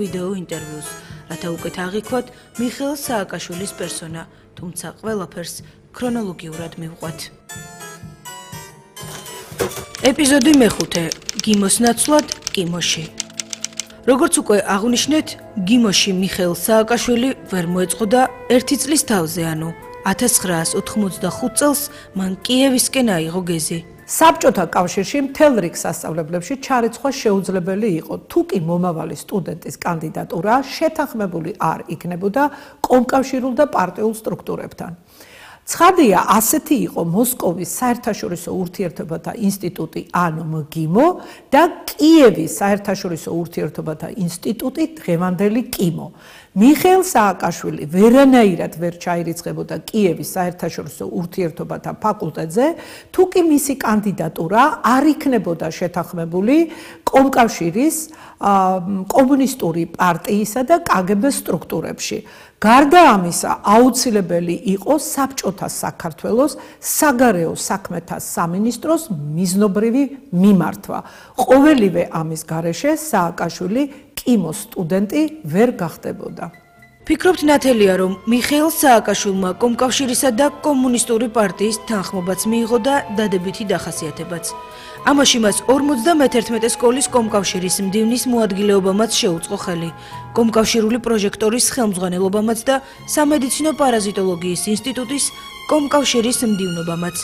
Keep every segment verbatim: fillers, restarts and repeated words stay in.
ვიდეო ინტერვიუს, რათა უკეთ აღიქვათ მიხეილ სააკაშვილის პერსონა, თუმცა ყველაფერს ქრონოლოგიურად მივყვათ. ეპიზოდი მეხუთე. გიმოს ნაცვლად კიმოში. როგორც უკვე აღვნიშნეთ, გიმოში მიხეილ სააკაშვილი ვერ მოეწყოდა ერთი წლის თავზე, ანუ ათას ცხრაას ოთხმოცდახუთ წელს მან კიევისკენ აიღო გეზი. საბჭოთა კავშირში მთელ რიგ სასწავლებლებში ჩარიცხვა შეუძლებელი იყო, თუ კი მომავალი სტუდენტის კანდიდატურა შეთანხმებული არ იქნებოდა კომკავშირულ და პარტიულ სტრუქტურებთან. ცხადია, ასეთი იყო მოსკოვის საერთაშორისო ურთიერთობათა ინსტიტუტი, ანუ მგიმო და კიევის საერთაშორისო ურთიერთობათა ინსტიტუტი, დღევანდელი კიმო. მიხეილ სააკაშვილი ვერანაირად ვერ ჩაირიცხებოდა კიევის საერთაშორისო ურთიერთობათა ფაკულტეტზე, თუ კი მისი კანდიდატურა არ იქნებოდა შეთანხმებული კომკავშირის, კომუნისტური პარტიისა და კაგებეს სტრუქტურებში. გარდა ამისა, აუცილებელი იყო საბჭოთა საქართველოს საგარეო საქმეთა სამინისტროს მიზნობრივი მიმართვა. ყოველივე ამის გარეშე სააკაშვილი კიმოს სტუდენტი ვერ გახდებოდა. ფიქრობთ ნათელია, რომ მიხეილ სააკაშვილმა კომკავშირისა და კომუნისტური პარტიის თანხმობაც მიიღო და დადებითი დახასიათებაც. ამაში მას ორმოცდამეთერთმეტე სკოლის კომკავშირის მდივნის მოადგილეობამაც შეუწყო ხელი, კომკავშირული პროჟექტორის ხელმძღვანელობამაც და სამედიცინო პარაზიტოლოგიის ინსტიტუტის კომკავშირის მდივნობამაც.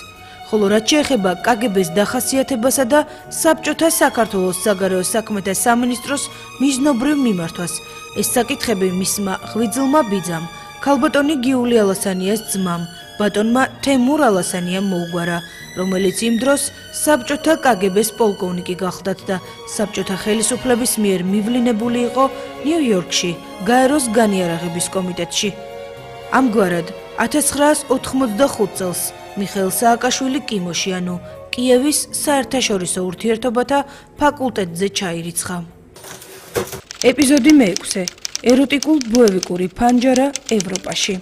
ხოლო რაც შეეხება კაგებეს დახასიათებასა და საბჭოთა საქართველოს საგარეო საქმეთა სამინისტროს მიზნობრივ მიმართვას, ეს საკითხები მისმა ღვიძლმა ბიძამ, ქალბატონი გიული ალასანიას ძმამ, ბატონმა თემურ ალასანიამ მოუგვარა, რომელიც იმ დროს საბჭოთა კაგებეს პოლკოვნიკი გახლდათ და საბჭოთა ხელისუფლების მიერ მივლინებული იყო ნიუ-იორკში, გაეროს განიარაღების კომიტეტში. ამგვარად, ათას ცხრაას ოთხმოცდახუთ წელს მიხეილ სააკაშვილი კიმოში, ანუ კიევის საერთაშორისო ურთიერთობათა ფაკულტეტზე ჩაირიცხა. ეპიზოდი მეექვსე. ეროტიკულ-ბოევიკური ფანჯარა ევროპაში.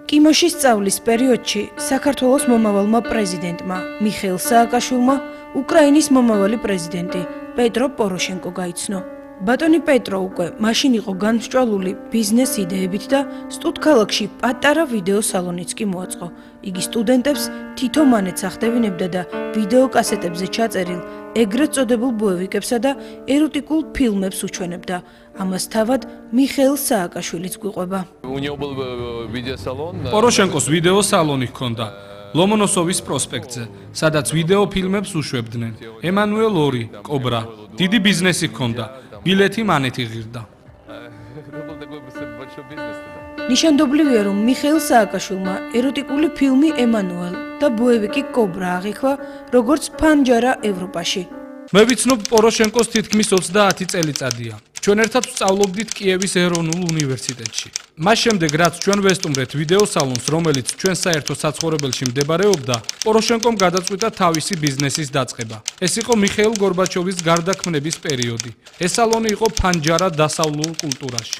კიმოში სწავლის პერიოდში საქართველოს მომავალმა პრეზიდენტმა მიხეილ სააკაშვილმა უკრაინის მომავალი პრეზიდენტი პეტრო პოროშენკო გაიცნო. ბატონი პეტრო უკვე მაშინ იყო განსჭვალული ბიზნეს იდეებით და სტუდქალაქში პატარა ვიდეო სალონიც კი მოაწყო. იგი სტუდენტებს თითო მონეტს ახდევინებდა და ვიდეო კასეტებზე ჩაწერილ ეგრეთ წოდებულ ბოევიკებსა და ეროტიკულ ფილმებს უჩვენებდა. ამას თავად მიხეილ სააკაშვილიც გვიყვება. პოროშენკოს ვიდეო სალონი ჰქონდა ლომონოსოვის პროსპექტზე, სადაც ვიდეო ფილმებს უშვებდნენ. ემანუელ ორი, კობრა, დიდი ბიზნესი ჰქონდა. ბილეთი მანეთი ღირდა. ნიშანდობლივია, რომ მიხეილ სააკაშვილმა ეროტიკული ფილმი ემანუელ და ბოევიკი კობრა აღიქვა, როგორც ფანჯარა ევროპაში. მე ვიცნობ პოროშენკოს თითქმის ოცდაათი წელიწადია. ჩვენ ერთად ვსწავლობდით კიევის ეროვნულ უნივერსიტეტში. მას შემდეგ, რაც ჩვენ ვესტუმრეთ ვიდეო სალონს, რომელიც ჩვენ საერთო საცხოვრებელში მდებარეობდა, პოროშენკომ გადაწყვიტა თავისი ბიზნესის დაწყება. ეს იყო მიხეილ გორბაჩოვის გარდაქმნების პერიოდი. ეს სალონი იყო ფანჯარა დასავლურ კულტურაში.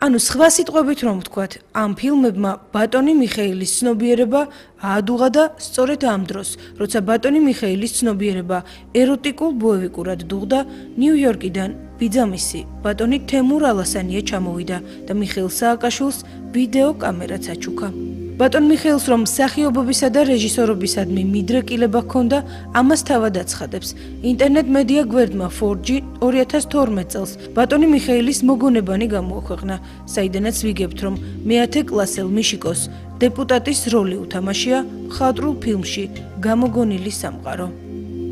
ანუ სხვა სიტყვებით რომ ვთქვათ, ამ ფილმებმა ბატონი მიხეილის ცნობიერება აადუღა და სწორედ ამ დროს, როცა ბატონი მიხეილის ცნობიერება ეროტიკულ ბოევიკურად დუღდა, ნიუ-იორკიდან ბიძამისი ბატონი თემურ ალასანია ჩამოვიდა და მიხეილ სააკაშვილს ვიდეო კამერაც აჩუქა. ბატონ მიხეილს რომ მსახიობობისა და რეჟისორობისადმი მიდრეკილება ჰქონდა, ამას თავად აცხადებს. ინტერნეტ მედია გვერდმა ფორ ჯი ორი ათას თორმეტ წელს ბატონი მიხეილის მოგონებანი გამოაქვეყნა, საიდანაც ვიგებთ, რომ მეათე კლასელ მიშიკოს დეპუტატის როლი უთამაშია მხატვრულ ფილმში გამოგონილი სამყარო.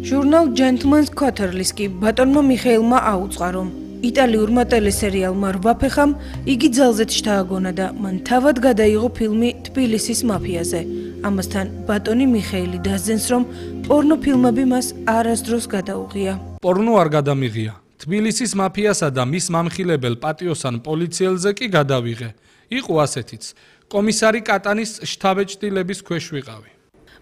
ჟურნალ Gentleman's Quarterly კი ბატონმა მიხეილმა აუწყა, რომ იტალიურმა ტელესერიალმა რვაფეხამ იგი ძალზედ შთააგონა და მან თავად გადაიღო ფილმი თბილისის მაფიაზე. ამასთან ბატონი მიხეილი დასძენს, რომ პორნო ფილმები მას არასდროს გადაუღია. პორნო არ გადამიღია. თბილისის მაფიასა და მის მამხილებელ პატიოსან პოლიციელზე კი გადავიღე. იყო ასეთიც. კომისარი კატანის შთაბეჭდილების ქვეშ ვიყავი.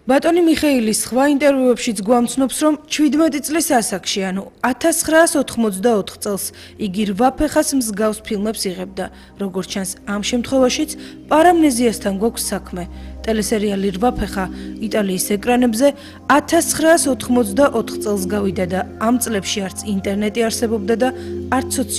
ბატონი მიხეილის სხვა ინტერვიუებშიც გვამცნობს, რომ შვიდმეტი წლის ასაკში, ანუ ათას ცხრაას ოთხმოცდაოთხ წელს იგი რვაფეხას მსგავს ფილმებს იღებდა. როგორც ჩანს, ამ შემთხვევაშიც პარამნეზიასთან გვაქვს საქმე. ტელესერიალი რვაფეხა იტალიის ეკრანებზე ათას ცხრაას ოთხმოცდაოთხ წელს გავიდა და ამ წლებში არც ინტერნეტი არსებობდა და არც